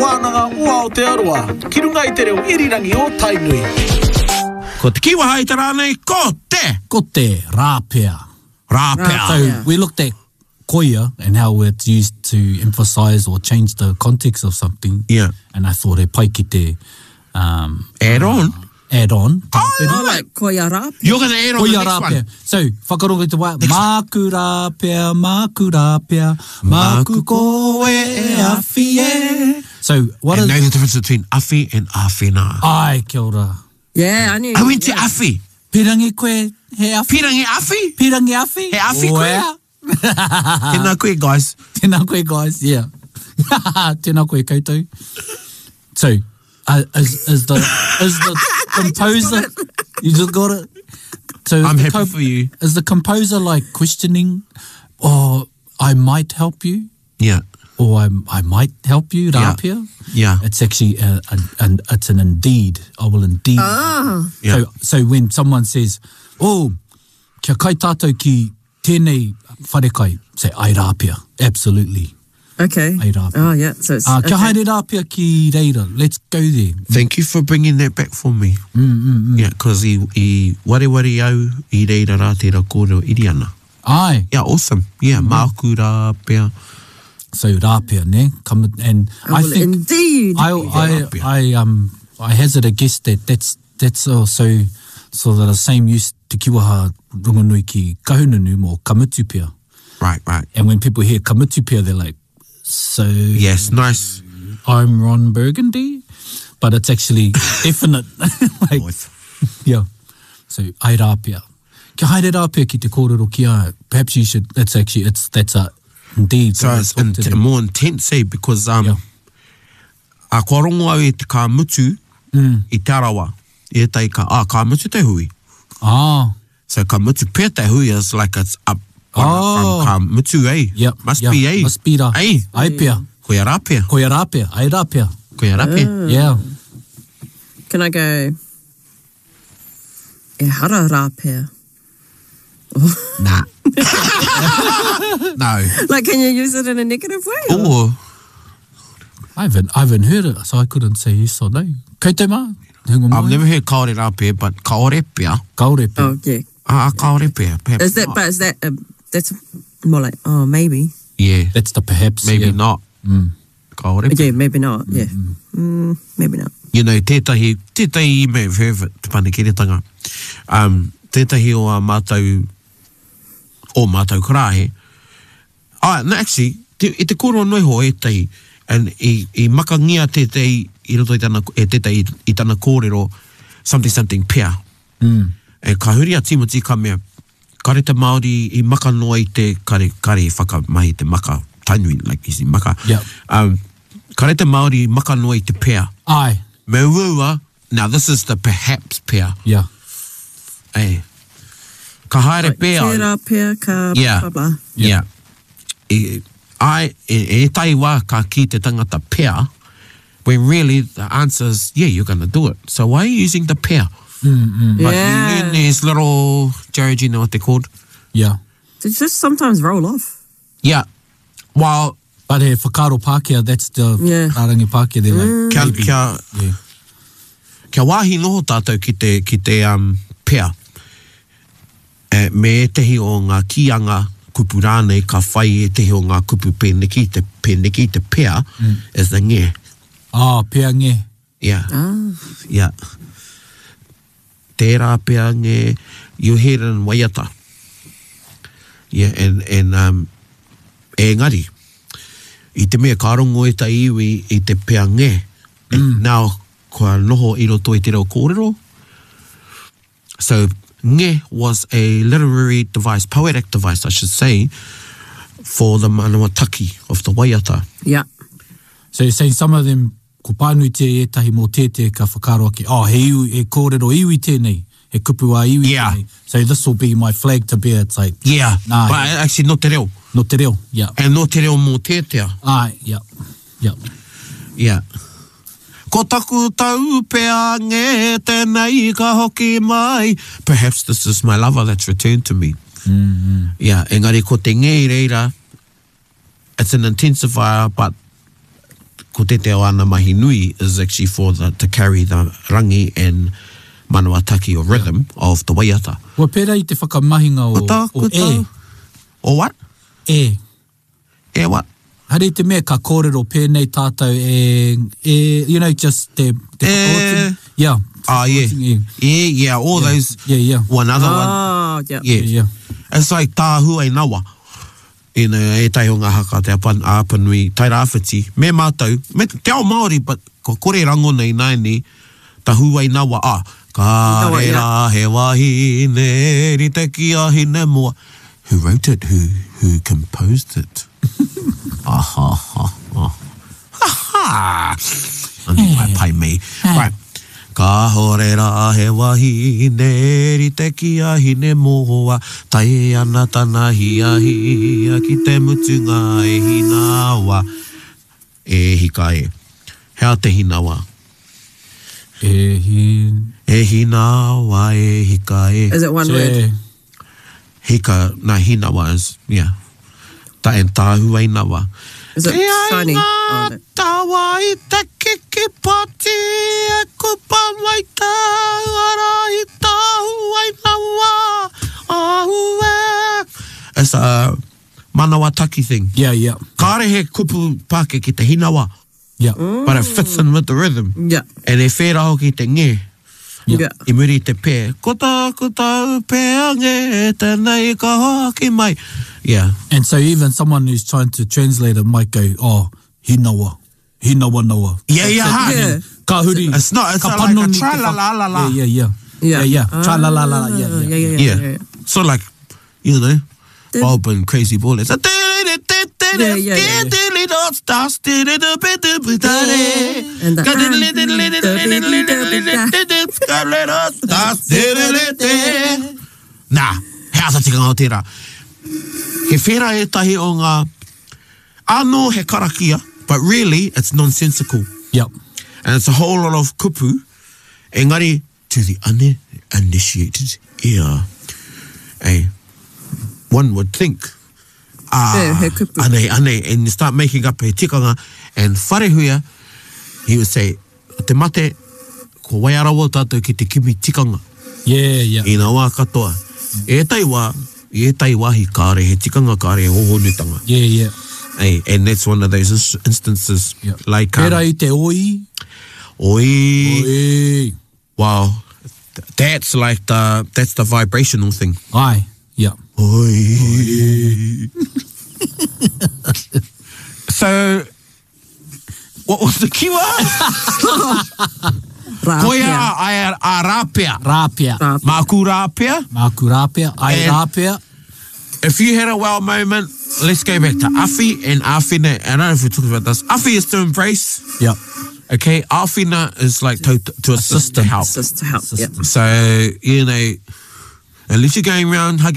Wānanga o Aotearoa, ki runga i te reo irirangi o Tainui. Ko te kīwaha i te rā nei, ko te! Ko te rāpea. Rāpea. So we looked at koia and how it's used to emphasise or change the context of something. Yeah. And I thought he pai ki te um, Add on. add on. Oh, like koia rāpea. You're going to add on Koia the next rāpea. one. So, whakarongo i te wā, māku rāpea, māku rāpea, māku koe e awhi e. So, what And is... know the difference between awhi and awhina. Ai, kia ora. Yeah, I knew. I went to awhi. Pirangi koe, he awhi? Pirangi awhi? Pirangi awhi? He awhi koe? Oea. Tēnā koe, guys. Tēnā koe, guys, yeah. Tēnā koe koutou. So, uh, is, is the, is the composer... You just got it? So is I'm the happy for you. Is the composer like questioning, oh, I might help you? Yeah. Or I, I might help you, Yeah. Rāpia? Yeah. It's actually a, a, an, it's an indeed. I will indeed. Ah. Yeah. So, so when someone says, oh, kia kai tātou ki tēnei wharekai, say, ai rāpia. Absolutely. Okay. Ai rāpia. Oh, yeah. So it's. Uh, kia okay. haere rāpia ki reira. Let's go there. Thank you for bringing that back for me. Mm, mm, mm. Yeah, because i, i wareware au i reira rā tērā kōrero iriana. Ai. Yeah, awesome. Yeah, mm. māku rā pea. So rāpia, ne? Come and I I will think indeed. I, I, Rāpia. I, um, I hazard a guess that that's, that's also so that the same use te kiwaha rongonui ki Kahungunu mō kamutu pia. Right, right. And when people hear kamutu pia, they're like, so Yes, nice. I'm Ron Burgundy, but it's actually definite. like, Nice. yeah. So, ai rāpia. Kia haere rāpia ki te kōrero ki a, perhaps you should, that's actually, it's, that's a, indeed. So it's talk in, to them. more intense, eh, because um, Yeah. a kua rongo au i te ka mutu i te arawa. I ētahi ka, ah, ka mutu te hui. Ah, So ka mutu pea te hui is like it's up on, Oh. from ka mutu, eh? yep. Must yep. be, eh? Must be rā. Eh? Ai pia. Koia rā pea. Koia rāpia. Ai rāpia. Koia rā pea. Yeah. Can I go? E hara rāpea. Nah. no. Like, can you use it in a negative way? or- Or, I haven't, I haven't heard it, so I couldn't say yes or no. Koutou mā? Hunga I've mai? never heard kaore rā pea, but kaore pea. Kaore pea. Oh, yeah. Ah, kaore pea. Perhaps Is that, not. but is that, that's more like, oh, maybe. Yeah, That's the perhaps. maybe yeah. not. Kaore pea. Yeah, maybe not. Yeah. Mm, maybe not. You know, tētahi, tētahi you may have heard of it, te panekiretanga. Um, tētahi o a mātou, o mātou karahe. Ah, no, actually, te, i te kōrero anō iho ētahi, and i, i makangia tētahi i roto i tana, e tētahi i, i tana kōrero, something something pea. Mm. E ka huri a Timoti ka mea, kare te Māori i maka noa i te, kare, kare i whakamahi te maka, Tainui, like you see, maka. Yeah. Um, kare te Māori i maka noa i te pea. Ai. Me uaua, now this is the perhaps pea. Yeah. Eh. Ka haere pea. au. Tērā pea ka Yeah. blah, blah. Yeah. I, ai, e, e tai wā ka ki te tangata pea, when really the answer is, yeah, you're going to do it. So why are you using the pea? Mm, But Yeah. you learn these little, Jared, you know what they're called? Yeah. They just sometimes roll off. Yeah. Well, But he whakaaro Pākehā, that's the Yeah. rārangi Pākehā, they're like, kia, maybe. kia, Yeah. kia wāhi noho tātou ki te, ki te um, pea. E, me ētehi o ngā kīanga kupu rānei ka whai ētehi o ngā kupu pēneki, te pēneki, te pea, mm. is the nge. Ah, pea nge. Yeah. Ah. Yeah. Tērā pea nge, you hear it in waiata. Yeah, and, and um, engari, i te mea ka rongo e ta iwi i te pea nge, mm. now kua noho i roto i te reo kōrero. So, nge was a literary device, poetic device, I should say, for the manawa taki of the waiata. Yeah. So you're saying some of them, ko pānuitia i ētahi mō tētē ka whakaaro ake, oh, he iwi, he kōrero iwi tēnei, he kupu a iwi Yeah. tēnei. So this will be my flag to bear. It's like, Yeah, Nah, but actually no te reo. no te reo. Yeah. And no te reo mō tētea. Ah, yeah. Yeah. Yeah. Ko taku tau pea nge tēnei ka hoki mai. Perhaps this is my lover that's returned to me. Mm -hmm. Yeah, engari ko te nge i reira, it's an intensifier, but ko tētehi o āna mahi nui is actually for the, to carry the rangi and manawataki or rhythm of the waiata. Kua pērā i te whakamahinga o, Ko tā, o ko tā. e. O what? E. E what? Haere i te mea ka kōrero pēnei tātou e, e, you know, just te, te E. whakaotinga. Yeah. Ah, yeah. Whakaotinga, e. Yeah, yeah, all those. Yeah, yeah. One other one. Oh, yeah. Yeah. Yeah. It's like tāhu ai nawa. You know, ētahi o ngā haka te apan, a Apanui, Tairāwhiti, me mātou, me te ao Māori, but kua kore rangona ināianei, tahu ai nawa, ah, kāre Nawa, yeah. rā he wahine rite ki a Hinemoa. Who wrote it? Who, who composed it? Ah, ha, ha, ha. Ha, ha. Anei, pai, pai me. Right. Kāhore rā he wahine rite ki a Hinemoa, tae ana tana hiahia ki te mutunga e hinawa. E hika e. Hea te hinawa? E hin... E hinawa e hika e. Is it one word? Te... Hika, na hinawa is, yeah. Ta and tāhu ai nawa. Is it Te ai shiny? ngā Oh, no. tawa i te kiki poti e kupa mai tāu ara i tāhu ai nawa ahu e. It's a manawa taki thing. Yeah, yeah. Kāre he kupu pāke ki te hinawa, Yeah. but it fits in with the rhythm. Yeah. And e whērā hoki te nge. Yeah. I muri i te pē. Ko tā, ko tāu pē a nge, tēnei ka hoki mai. Yeah. And so even someone who's trying to translate it might go, oh, hinawa, hinawa nawa. Yeah, yeah, ha. Yeah. Ka huri. It's not, it's ka not like a panoni te tra la whak- la la la. Yeah, yeah, yeah. Yeah. Yeah, yeah. Tra la la la, yeah, Ah, yeah. yeah, yeah, Yeah. yeah, yeah. So like, you know, Bob and Crazy Ball. It's a Yeah, yeah, yeah. And the- Nā, he ata tikanga o tērā. He whērā ētahi o ngā, anō he karakia, but really it's nonsensical. Yep. And it's a whole lot of kupu, engari to the uninitiated ear. Hey, one would think, ah, Yeah, he kupu. anei, anei, and you start making up he tikanga, and wharehuia, he would say, te mate, ko waiarawa tātou ki te kimi tikanga, Yeah, yeah. i ngā wā katoa. Ētahi wā, i ētahi wāhi kāre he tikanga, kāre he hohonutanga. Yeah, yeah. Hey, and that's one of those instances. Yeah. Like, Pērā i te oi. oi, Oi. Wow, that's like the that's the vibrational thing. Ai, yeah. Oi. so, what was the keyword? Rāpea. Koia ai a rāpea. Rāpea. Rāpea. Māku rāpea. Māku rāpea. Ai And- rāpea. If you had a wow moment, let's go back to Awhi and Awhina. I don't know if we talked about this. Awhi is to embrace. Yep. Okay, Awhina is like to assist, to help. Just to help. Yeah. So, you know, unless you're going around hugging